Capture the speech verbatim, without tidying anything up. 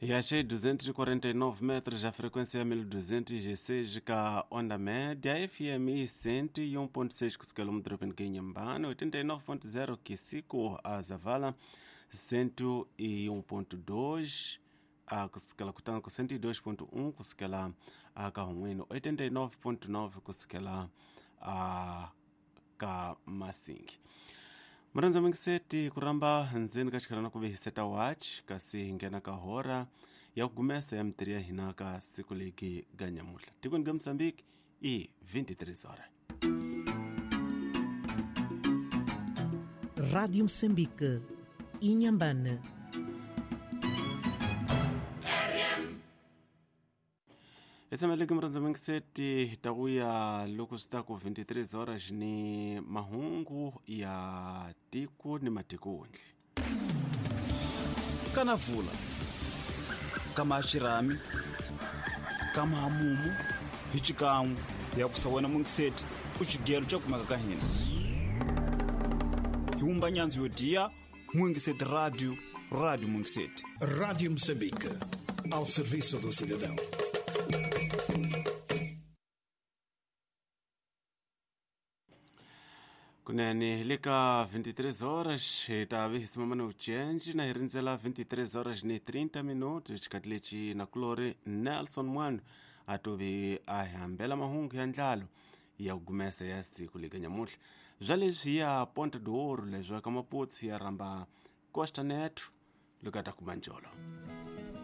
E achei duzentos e quarenta e nove metros, a frequência mil duzentos e seis ka onda média, F M cento e um ponto seis quilômetro em Inhambane, oitenta e nove ponto zero Quisico a Zavala, cento e um ponto dois a kusukela kutanga ku cento e dois ponto um kusukela a ka Hunwino, oitenta e nove ponto nove kusukela a ka Masingi. Murandza mingiseti kuramba ndzeni ka xikalana ku vehiseta watch kasi hi nghena ka hora ya ku gumesa ya mitirhi ya hina ka siku legi ga nyamuhla tikweni ga Mozambique i vinte e três horas. Rádio Moçambique, Inhambane. Etsameleki murandza mingiseti takuya loko swi ta ku vinte e três horas ni mahungu ya tiko ni matikondli. Kana vula kama xirhami kama hamumu hi xikan'we ya ku sawena mungiseti u xigelo xa kumeka ka hina hi wumba nyandzu yo diya Mungiseti Radio, Rádio Mungiseti. Rádio Moçambique, ao serviço do cidadão. Kunene le ka vinte e três horas hi ta vi hi simama ni vucenji na hi rindzela vinte e três horas ni trinta minutos xikati lexi nakulori Nelson Mwando a tovi a hi hambela mahungu ya ndlalo ya ku gumesa ya siku leka nyamuhla bya leswi ya Ponta do Ouro leswi ka Maputsi ya rhamba Costa Neto loko a ta kuma njolo.